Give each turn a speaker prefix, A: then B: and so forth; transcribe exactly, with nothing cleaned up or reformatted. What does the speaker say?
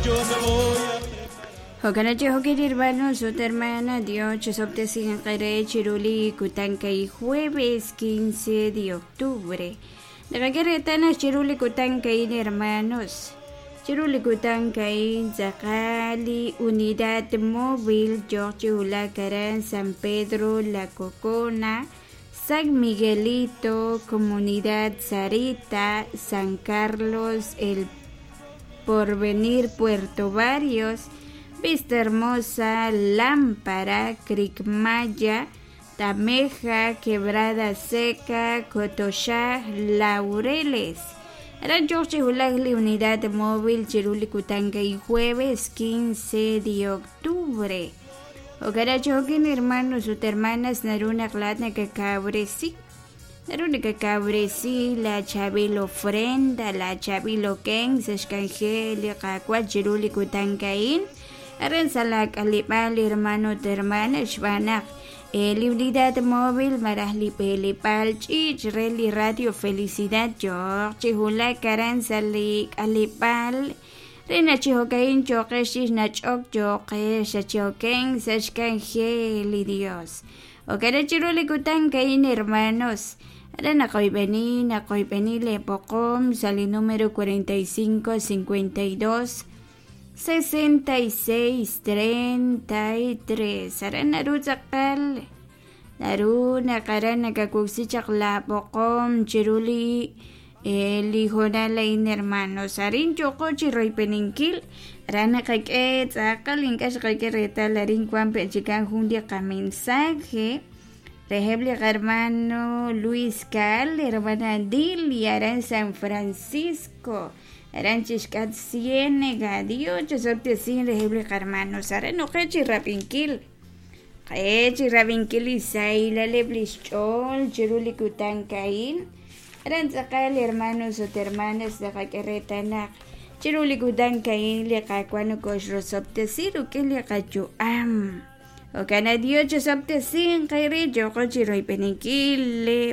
A: Yo me voy a
B: Jo'kan chi hermanos ut hermana Dios chisob'tesinqere chiruli kutankay jueves quince de octubre. Naqakeretana chiruli kutankay hermanos. Chiruli kutankay tzaqali unidad móvil George Ulacaran San Pedro La Cocona San Miguelito Comunidad Sarita San Carlos El Porvenir Puerto Barrios Vista Hermosa, Lámpara, Cricmaya, Tameja, Quebrada Seca, Cotoxá, Laureles. Aran George Hulagli, Unidad Móvil, Chiruli Kutanga y jueves quince de octubre. Okarachokin hermanos ut hermanas naruna klatna kakabresi. Naruna kakabresi la chavil ofrenda, la chavil ken, sexkanjeli, kakwal chiruli kutankain. Aran salak alipal hermano hermana xbanak el unidad móvil marahli pelipal chich reli radio felicidad George hula karan salik alipal rena chihokain choqesh nachok choqesh choqen sachkanjeli Dios okara chiruli kutankain hermanos Aran naqoybeni naqoybeni le poqom sali número cuarenta y cinco cincuenta y dos sesenta y seis treinta y tres Aran naru tzaqal naru naqaran nakakuksichaq la poqom chiruli lijoralain hermanos arin choqochi roypeninkil aran naqak'e tzaqal inkax qak'e retal arin kuan pechikan jun li qamensaje Rejebli hermano Luis Cal, hermana Dilia, aran San Francisco Aran chishkat ciénega, Dios, chosoptesin, rejebli hermanos, aran oqechi rapinkil. Qechi rapinkil isaila leblischol, chiruli kutankain. Aran tzaqal hermanos ot hermanas de qakeretanak. Chiruli kutankain liqakuano koxrosoptesir ukin liqachuam. Okana Dios chosoptesin, qayri choqochi roypeninkil le